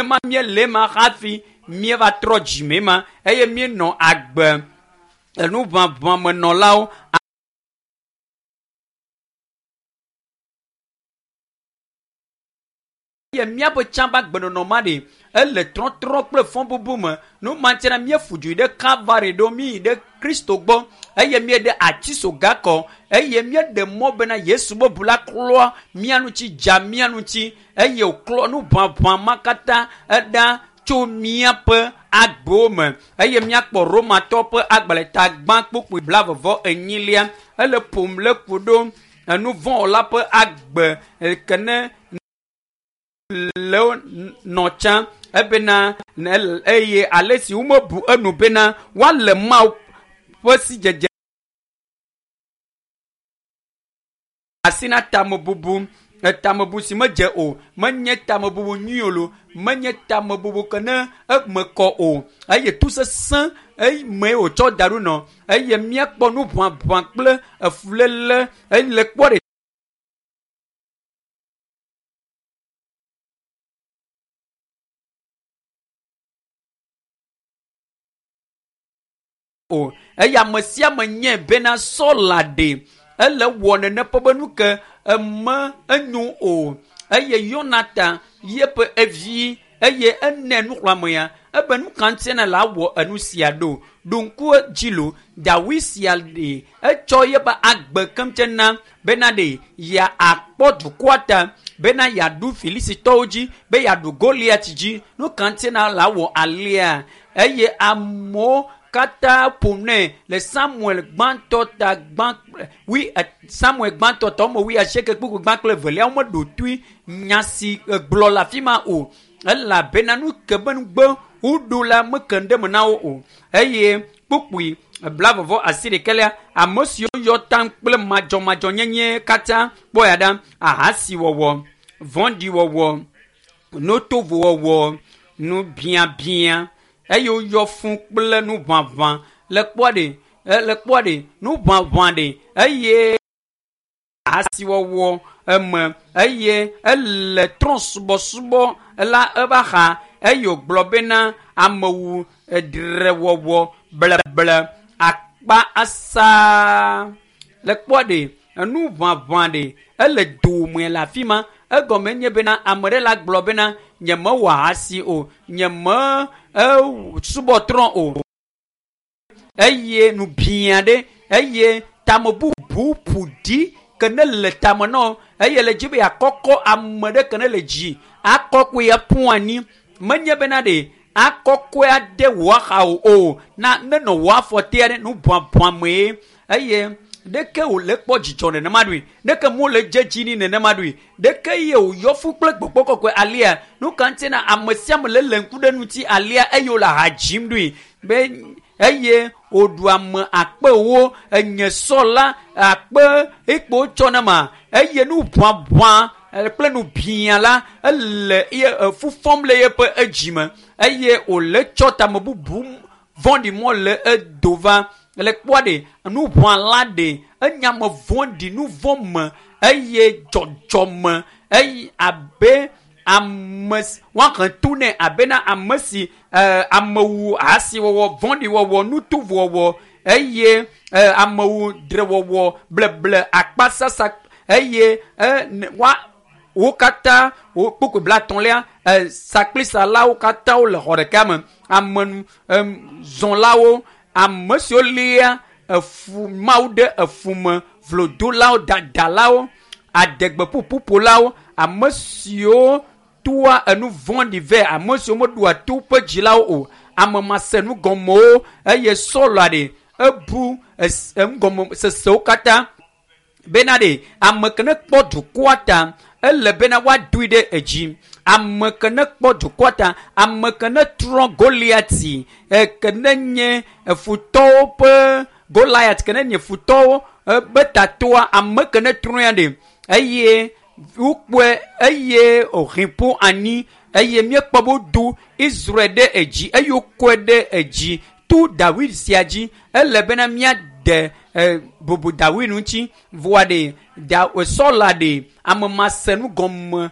Nenema míele ema hafi míeva trɔ dzime ma eye míenɔ agbe enuʋaʋãmenɔlawo. Eye míaƒe tsã ƒe agbenɔnɔ ma ɖe ele trɔtrɔ kple fɔbubu me. Nu ma ŋuti na míefu du yi ɖe Kalvari ɖo míyi ɖe Kristo gbɔ eye míeɖe atisoga kɔ eye míeɖe mɔ bena Yesu be ʋu la klɔ mía ŋuti dza mía ŋuti eye wòklɔ nu ʋaʋã ma katã eɖa tso míaƒe agbewo me eye míakpɔ Romatɔ ƒe agbalẽ ta gbã kpukpui blaeve enyilia ele ƒom le ku ɖo enuvɔ̃wɔla ƒe agbe ke ne le nɔ tsã ebena eye ale si womebu enu bena woale Mawu ƒe sidzedze asi na tamebubu tamebu si medze o menye tamebubu nyui o lo menye tamebubu ke ne eme kɔ o eye tu sesẽ eme wòtsɔ da ɖo nɔ eye míakpɔ nu ʋaʋã kple efuléle ele kpɔ ɖe o eye ame sia ame nyae bena Sɔla ɖe ele wɔ nene ƒe be nu ke eme enyo o eye Yonatan yeƒe evi eye ene nuxlɔ̃ame ya ebe nu ka ŋuti na la wɔ enu sia ɖo ɖo ŋku dzi lo Dawid sia ɖe etsɔ yeƒe agbe keŋ tse na bena ɖe ya akpɔ dukɔa ta bena yeaɖu Filisitɔwo dzi be yeaɖu Goliat dzi nu ka ŋuti na la wɔ alea eye amewo katã ƒo nɛ le Samuel gbãtɔ ta gbã wi Samuel gbãtɔ ta wɔme wuiasieke kpukpui gbã kple evelia womeɖo toe nya si gblɔ le afi ma o elabena nu ke be nugbe woɖo la meke ɖe me na wo o eye kpukpui blaeve asi ɖekɛlia ame siwo yɔ tam kple madzɔmadzɔnyenye katã kpɔ ya ɖa ahasiwɔwɔ vɔ̃ɖiwɔwɔ nutovowɔwɔ nubiabia eye woyɔ fũ kple nuʋaʋã le kpɔ ɖe le kpɔ ɖe nuʋaʋã ɖe eye ahasiwɔwɔ eme eye ele trɔ̃subɔsubɔ la eva xa eye wògblɔ bena amewu edrewɔwɔ bleble akpa asa le kpɔ ɖe enuʋaʋã ɖe ele dome le afi ma egɔme nye bena ame ɖe la gblɔ bena nyemewɔ ahasi o nyeme subɔ trɔ̃ o eye nubia ɖe eye tamebubu ƒo ɖi ke ne le tame nɔ eye le dzi be yeakɔkɔ ame ɖe ke ne le dzi akɔkɔe aƒu anyi menye bena ɖe akɔkɔe ade wò axawo o na nenɔ wò afɔ tea ɖe nubuabuamee eye ɖeke wòle kpɔ dzidzɔ nenema ɖoe ɖeke mo le dze dzi ni nenema ɖoe ɖeke ye wòyɔ fu kple gbɔgbɔ kɔkɔe alia nu ka ŋuti na ame sia ame le le ŋku ɖe ŋuti alia eye wòle aha dzim ɖoe be eye wòɖu ame akpewo enye sɔ la akpe ekpo tsɔ na ma eye nu ʋaʋã kple nu bia la ele ye fufɔm le yeƒe edzime eye wòle tsɔ tamebubu vɔ̃ɖi mɔ le edo va le kpɔa ɖe nu ʋã la ɖe enya me vɔ̃ɖi nu vɔ̃ me eye dzɔdzɔme eye abe ame woahe to nɛ abena ame si amewu ahasiwɔwɔ vɔ̃ɖiwɔwɔ nutovowɔwɔ eye amewu drewɔwɔ bleble akpasasa eye wa wo katã wo kpukpui blaetɔ̃lia sakplisalawo katã wole xɔ ɖeka me ame zɔlawo ame siwo lia efu mawu ɖe efu me vlodolawo dadalawo adegbeƒuƒuƒolawo ame siwo toa enu vɔ̃ɖi vɛ ame siwo meɖoa to ƒe dzilawo o ame masenugɔmewo eye sɔlɔ ɖe ebu enugɔmesesewo katã bena ɖe ame ke ne kpɔ dukɔa ta ele bena woadoe ɖe edzi ame ke ne kpɔ dukɔa ta ame ke ne trɔ Goliati ke ne nye futɔwo ƒe Goliat ke ne nye futɔwo be tatoa ame ke ne trɔe ɖe eye wokpɔe eye wòhe ƒu anyi eye míekpɔ be wodo Israel ɖe edzi eye wokɔe ɖe edzi to Dawid sia dzi ele bena míade bubu Dawid ŋuti voa ɖe Sɔla ɖe ame masenugɔme.